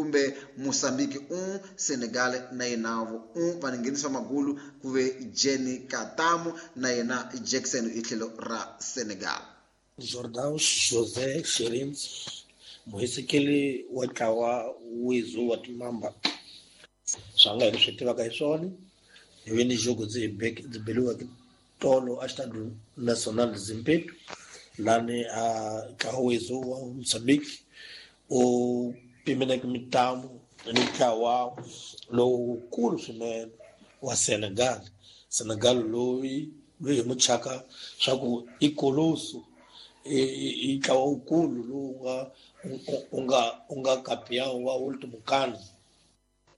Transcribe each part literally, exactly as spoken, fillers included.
kumbe Mozambique un Senegal na yena un vaninghenisi va magulu ku ve Jenny Katamu na yena Jackson hi tlhelo ra Senegal. Jordan Jose Sherins muhisekeli wa ntlawa wizu wa timamba swa nga hi swi tivaka hi swona hi ve ni jogo ndzi ndzi beliweke tolo a Estádio Nacional de Zimpeto lani a ntlawa wizu wa Mozambique u pimeleke mintamu ni ntlawa lowukulu swinene wa Senegal. Senegal loyi loyi hi muchaka swa ku i koloso i ntlawa wukulu lowu nga u nga u nga campeão wa último CAN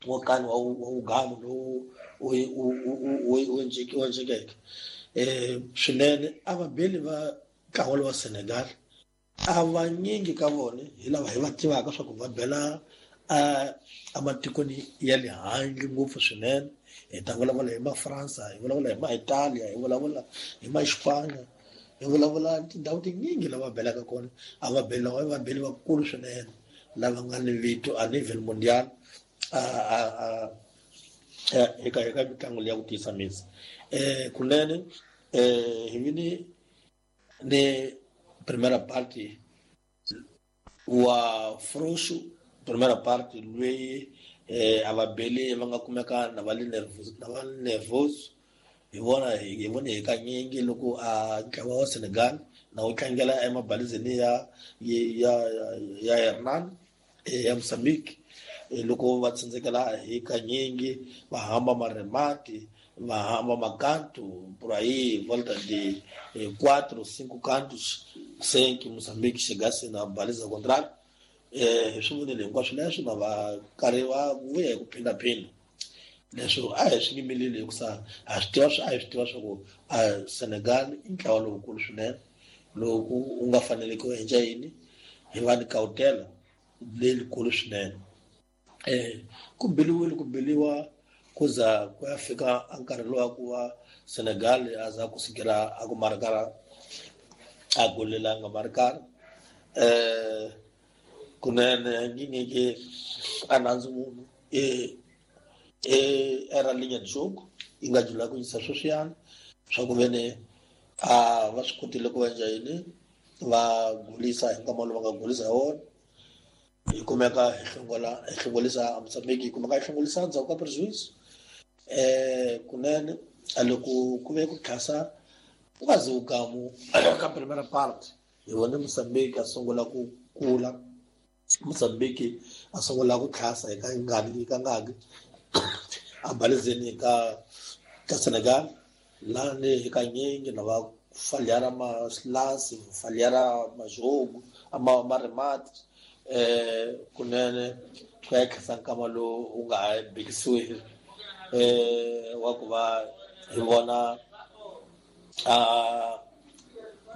wa CAN wa wa Uganda lowu u u u u endlekeke eh swinene. A vabeli va ntlawa wa Senegal a vanyingi ka vona hi lava hi va tivaka swa ku va bela a ematikweni ya le handle ngopfu swinene. Hi ta vulavula hi ma-Fransa, hi vulavula hi ma-Italia, hi vulavula hi ma-Espanya, hi vulavula tindhawu tinyingi lava belaka kona. A va beli lava va beli vakulu swinene lava nga ni vito a nivel mundial a a a eka eka mitlangu leyi ya ku tiyisa misi. Eh kunene eh hi vini ni primera parte wa Froxo, primera parte loyi eh a va beli va nga kumeka na va le nervous na va nervous hi vona hi vone hi kanyingi loko a ntlawa wa Senegal na wu tlangela emabalizeni ya ya ya Hernan ya Mozambique loko va tsandzekela hi kanyingi va hamba maremati va hamba makanto por aí volta de quatro cinco cantos sem que Moçambique chegasse na baliza contrária. Eh swi vonile hinkwaswo leswi na va karhi va vuya hi ku phindaphinda leswo a hi swi yimeleli hikusa a swi tiva a hi swi tiva swa ku a Senegal i ntlawa lowukulu swinene loku u nga faneleke u endla yini hi va ni kawutela leyikulu swinene. Eh ku beliwile ku beliwa ku za ku ya fika a nkarhi lowu wa ku va Senegal a za ku sukela a ku marikara a golelanga marikara eh kunene ngineke a nandzu munhu e e era linha de jogo yi nga jula ku yisa sweswiyani swa ku vene a va swi kotile ku endla yini va gulisa hi nkama lowu va nga gulisa hi wona hi kumeka hi hlongola hi hlongolisa Mozambique hi kumeka hi hlongolisa ndzhaku ka prejuízo. Eh kunene a loko ku ve ku tlhasa ku nga zi wugamu ka primera parte hi vone Mozambique a sungula ku kula Mozambique a sungula ku tlhasa hi ka ngani ka ngaki a balizeni ka ka Senegal lani hi kanyingi na va falhara masilasi falhara majogo ama maremati eh kunene ku ya tlhasa nkama lowu wu nga ha bikisiwi eh wa ku va hi vona a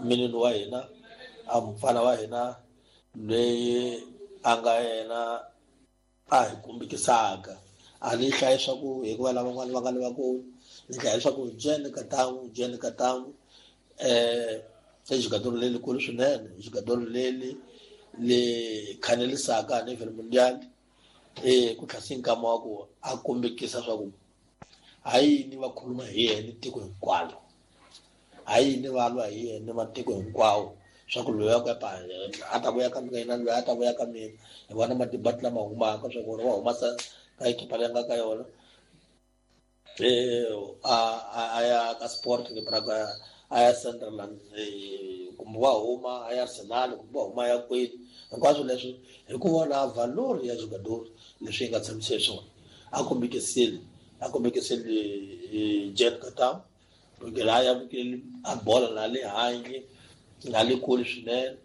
minini wa hina a mufana wa hina loyi a nga yena a hi kumbekisaka a ni hlayi swa ku hikuva lavan'wana va nga le vakulu ni hlaya leswaku Jene Katamu Jene Katamu eh i jogador lelikulu swinene jogador leli le khanelisaka a nivel mundial eh ku tlhasi nkama wa ku a kombekisa swa ku ha yini va khuluma hi yena tiko hinkwalo ha yini va lwa hi yena matiko hinkwawo swa ku loyi a ku a ta vuya ka mina loyi a ta vuya ka mina hi vona madibati lama humaka swa ku wa humasa ka ekipa leyi nga ka yona eh a a ya ka Sport ni Braga a ya Sunderland kumbe wa huma a ya Arsenal kumbe wa huma ya kwini hinkwaswo leswi hi ku vona valor ya jogador leswi yi nga tshamisa swona a kombekisile a kombekisile Jen Katam loko a ya a bola na le handle na le kule swinene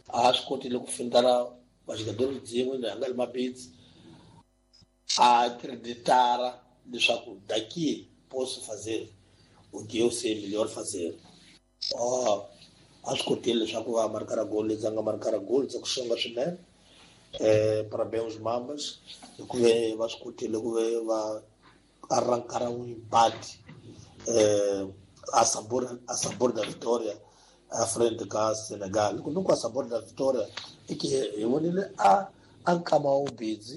a swi kotile ku fintana vajogador byin'we loyi a nga le mabitsi a acreditara leswaku daqui posso fazer o que eu sei melhor fazer. Oh, a swi kotile leswaku va markara gol leti nga markara gol dza ku xonga swinene eh parabéns Mambas hikuva va swi kotile ku va arrancar um empate eh a sabor a sabor da vitória à frente ka Senegal. Loko ni ku a sabor da vitória i ke hi vonile a a nkama wa vubedzi